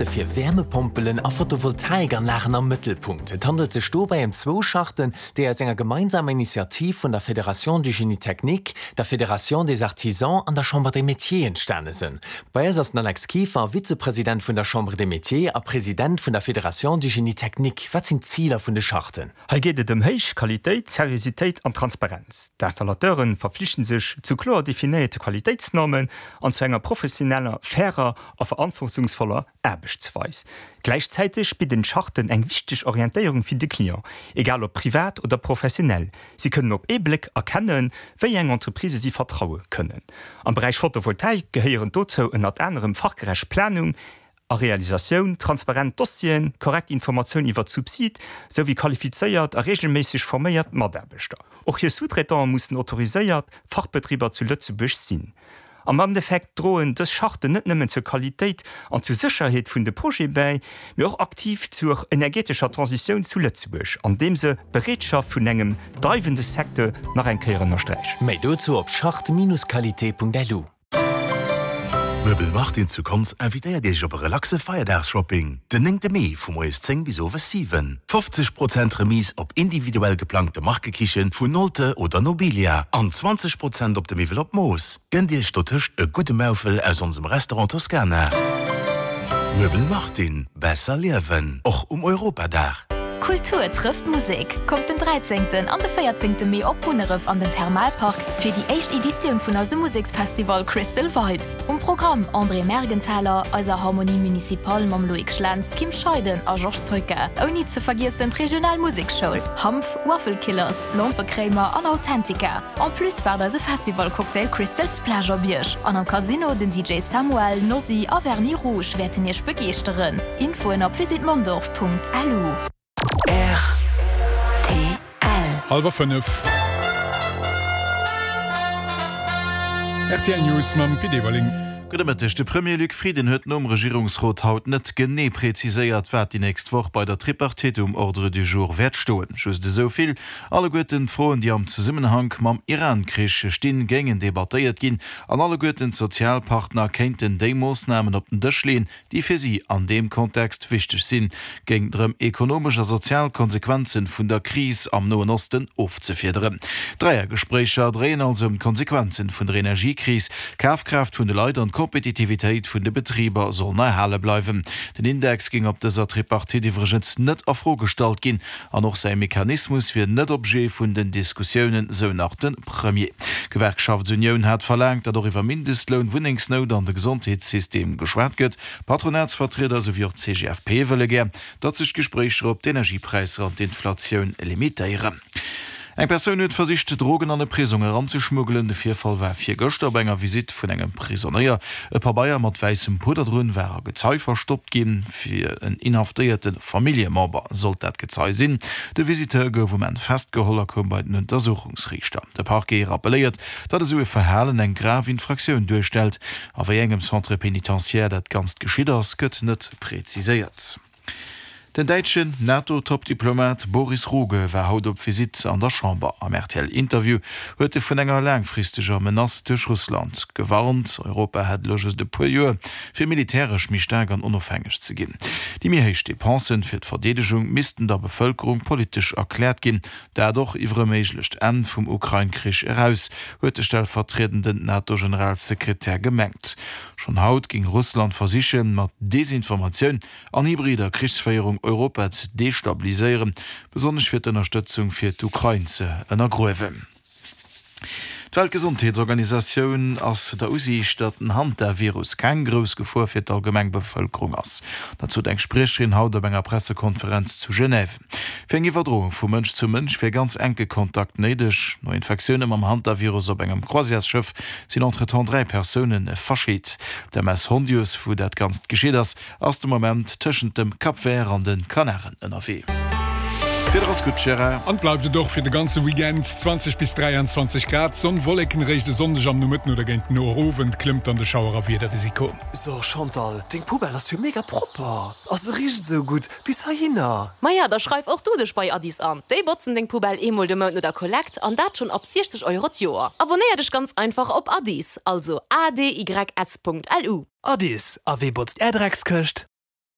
Fir Wäermepompelen a Photovoltaikanlagen am Mëttelpunkt. Et handelt sech dobäi ëm zwou Charten, déi aus enger gemeinsamer Initiativ vun der Fédération du Génie Technique, der Fédération des Artisans an der Chambre des Métiers entstane sënn. Bei eis ass den Alex Kieffer, Vizepresident vun der Chambre des Métiers a President vun der Fédération du Génie Technique. Wat sinn d'Ziler vun de Charten? Hei geet et ëm héich Qualitéit, Seriositéit an Transparenz. D'Installateuren verflichten sech zu kloer definéierte Qualitéitsnormen an zu enger professioneller, fairer a verantwortungsvoller Aarbechtsweis. Gläichzäiteg bidden d'Charten eng wichteg Orientéierung fir de Client, egal ob privat oder professionell. Si kënnen op ee Bléck erkennen, wéi eng Entreprisë si vertraue kënnen. Am Beräich Photovoltaik gehéieren dozou ënnert anerem fachgerecht Planung a Realisatioun, transparent Dossieren, korrekt Informatioun iwwert d'Subside, sou wéi qualifizéiert a reegelméisseg forméiert Mataarbechter. Och hir Sous-traitante mussen autoriséiert Fachbetriber zu Lëtzebuerg sinn. Am Endeffekt droen dës Charten net nëmmen zur Qualitéit an zur Sécherheet vun de Projete bäi, mee och aktiv zur energetescher Transitioun zu Lëtzebuerg, andeem se d'Bereetschaft vun engem dreiwende Secteur nach eng Kéier ënnersträichen. Méi dozou op charte-qualité.lu. Möbel Martin zu Konz invitéiert Iech op e relaxe Feierdags-Shopping den 9 Mee vu moies 10 bis owes 7. 50 Prozent Remise op individuell geplangte Markekichen vun Nolte oder Nobilia an 20 Prozent op de Miwwel op Mooss. Gënnt Iech dotëscht e gudde Maufel aus onsem Restaurant Toscana. Möbel Martin, besser liewen, och um Europadag. Kultur trëfft Musek! Kommt den 13. an de 14. Mee op Munneref an den Thermalpark fir déi éischt Editioun vun eisem Museksfestival Crystal Vibes. Um Programm, André Mergenthaler, eiser Harmonie Municipale mam Loïc Schlentz, Kim Scheiden a Georges Soyka. Ouni ze vergiessen d'regional Museksschoul, Hanf, Waffle Killers, Lompekréimer an Authentica. En plus waart eise Festival-Cocktail Crystal Splash op iech an am Casino den DJ Samuel, Nosy a Vernis Rouge wäerten iech begeeschteren. Infoen op visitmondorf.lu. Rtl. Hallwer 5. Rtl News mam Pit Everling. Gudde Mëtteg. De Premier Luc Frieden huet nom Regierungsrot haut net genee preziséiert, wat déi nächst Woch bei der Tripartite um Ordre du jour wäert stoen. Just esou vill, Alleguerten d'Froen, déi am Zesummenhank mam Iran-Krich stinn, géingen debattéiert ginn an alleguerten d'Sozialpartner kéinten déi Moossnamen op den Dësch leeën, déi fir si an deem Kontext wichteg sinn, géing drëm, ekonomesch a sozial Konsequenzen vun der Kris am Noen Osten ofzefiederen. D'Dräiergespréicher dréien also ëm d'Konsequenzen vun der Energiekris. D'Kafkraaft vun de Leit an d'Kompetitivitéit vun de Betriber sollen erhale bleiwen. Den Index géing op dëser Tripartite iwwregens net a Fro gestallt ginn an och säi Mechanismus wier net Objet vun den Diskussiounen, sou nach de Premier. D'Gewerkschaftsunioun hat verlaangt, datt och iwwer Mindestloun, Wunnengsnout an de Gesondheetssystem geschwat gëtt. Patronatsvertrieder esou wéi och d'CGFP wëlle gär, datt sech d'Gespréicher op d'Energiepräisser an d'Inflatioun limitéieren. Eng Persoun huet versicht, Drogen an e Prisong eranzeschmuggelen. De Virfall war virgëschter op enger Visitt vun engem Prisonéier. E Pabeier mat wäissem Pudder drun war a Gezei verstoppt ginn. Fir en inhaftéierte Familljemember sollt dat Gezei sinn. De Visiteur gouf um Enn festgeholl a koum bei den Untersuchungsriichter. De Parquet rappelléiert, datt esou e Verhalen eng grav Infraktioun duerstellt. A wéi engem Centre pénitentiaire dat Ganzt geschitt ass, gëtt net preziséiert. Den däitschen NATO-Topdiplomat Boris Rogge war haut op Visitt an der Chamber. Am RTL-Interview huet e vun enger laangfristeger Menace duerch Russland gewarnt. Europa hätt elo just e puer Joer, fir militäresch méi staark an onofhängeg ze ginn. Déi méi héich Depensen fir d'Verdeedegung missten der Bevëlkerung politesch erkläert ginn. Dat och iwwer e méiglecht Enn vum Ukrain-Krich eraus, huet de stellvertriedenden NATO-Generalsekretär gemengt. Schonn haut géing Russland versichen, mat Desinformatioun an hybrider Krichsféierung Europa ze destabiliséieren, besonnesch fir d'Ënnerstëtzung fir d'Ukrain ze ënnergruewen. D'Weltgesondheetsorganisatioun ass der Usiicht, datt den Hantavirus keng grouss Gefor fir d'allgemeng Bevëlkerung ass. Dat sot eng Spriecherin haut op enger Pressekonferenz zu Genève. Fir eng Iwwerdroung vu Mënsch zu Mënsch wier ganz enke Kontakt néideg. No Infektioune mam Hantavirus op engem Croisièresschëff sinn entretemps 3 Persoune verscheet. D'MS Hondius, wou dat Ganzt geschitt ass, Ass de Moment tëschent dem Cap Vert an de Kanaren ënnerwee. D'Wieder ass gutt, Gérard. An bleift et och fir de ganze Weekend, 20 bis 23 Grad, Sonn, Wolleken. Réischt e Sonndeg am Nomëtten oder géint den Owend klëmmt dann de Schauer a Wiederrisiko. So Chantal, deng Poubelle ass jo mega propper a se richt esou gutt bis heihinner. Maja, da schreif och du dech bei Addis an. Déi botzen deng Poubelle eemol de Mount no der Kollekt an dat schonn ab 60 Euro d'Joer. Abonnéier dech ganz einfach op Addis, also adys.lu. Addis, a wee botzt är Dreckskëscht?